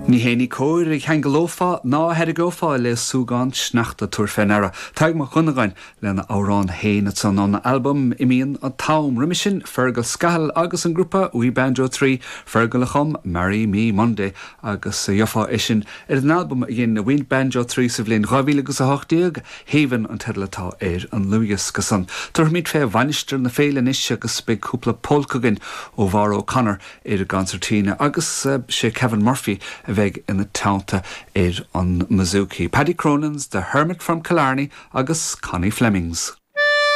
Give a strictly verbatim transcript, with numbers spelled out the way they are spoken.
Ní hé ní cóir a cheanglófá ná a tharraingeofá le súgán sneachta tabhair fé ndeara. Tadhg Mac Dhonnagáin lena amhrán féin san ón albam Imíonn an t-am roimhe sin Fergal Scahill agus an grúpa We Banjo trí Fergal a chum Marry Me Monday agus gheofá é sin ar an albam a dhein We Banjo trí sa bhliain dhá mhíle agus a hocht déag Haven an teideal atá ar an dlúthdhiosca san. Tabharfaimid fé Mhainistir na Féile anois agus beidh cúpla polca againn ó Mhaura O'Connor ar an gconsairtín agus sé Kevin Murphy a bheidh ina teannta ar an mbouzouki. Paddy Cronin's The Hermit from Killarney agus Connie Flemings.